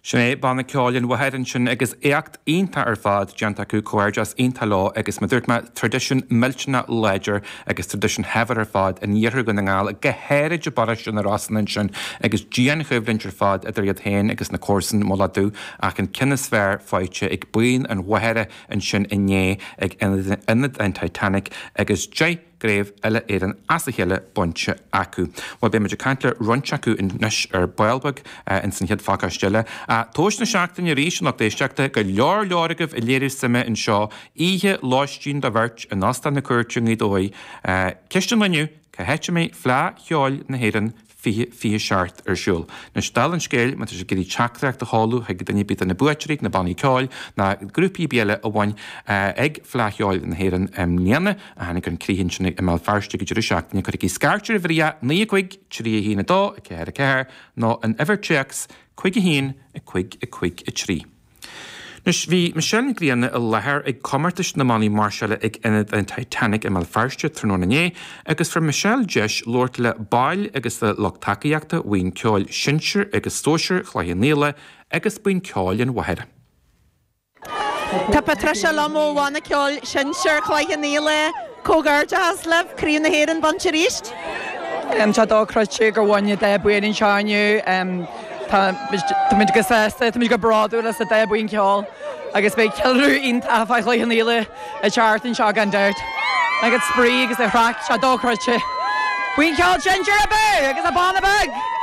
Sin é Banna Ceoil an Mhachaire ansin agus éacht iontach ar fad déanta acu, comhghairdeas iontach leo agus mar dúirt mé, traidisiún millteanach láidir agus traidisiún shaibhir ar fad in iarthar Dhún na nGall, go háirid i bparóiste na Rosann ansin agus dianchoimhlint ar fad idir iad féin agus na comharsain, Mullach Dubh, ach an ceann is fearr faighte ag buíon an Mhachaire ansin inné ag Ionad an Titanic agus 10 gcraobh uile-Éireann as a chéile bainte acu. Bhuel, beidh muid ag caint le roinnt acu anois ar ball beag ins an chéad phacáiste eile. Tomhas na seachtaine arís, a lucht éisteachta, go leor leor agaibh ag léiriú suime anseo. Oíche lóistín do bheirt in Óstán na Cúirte i nGaoth Dobhair. Ceist an lae inniu, cá háit a mbeidh Fleadh Cheoil na hÉireann 2027 ar siúl. Anois, dála an scéil, má tá sibh ag iarraidh teachtaireacht a sheoladh chuig duine ar bith de na buaiteoirí, na bannaí ceoil, ná grúpaí ar bith eile a bhain ag Fleadh Cheoil na hÉireann i mbliana, a tháinig chun críche ansin i mBéal Feirste ag an deireadh seachtaine, cuirigí scairt ar uimhir 9 5 3 1 2 4 4 nó an uimhir téacs 5 1 5 5 3. Anois, bhí Michelle Nic Grianna i láthair ag comórtais na mbannaí máirseála ag Ionad an Titanic i mBéal Feirste tráthnóna inné agus fuair Michelle deis labhairt le baill agus le lucht tacaíochta Bhuíon Ceoil Sinsir agus Sóisir Chloich Cheann Fhaola agus Buíon Ceoil an Mhachaire. Tá Patricia liom ó Bhanna Ceoil Sinsir Chloich Cheann Fhaola. Comhghairdeachas libh, Craobh na hÉireann bainte arís. Tá sé dochreidte gur bhain an dá buíon anseo inniu. Táimid go sásta, táimid go bródúil as an dá buíon ceoil agus beidh ceiliúradh iontach fá Chloich Cheann Fhaola an tseachtain seo gan dabht. Agus spraoi agus an chraic, tá sé dochreidte. Buíon ceoil sinsir abú agus an banna beag!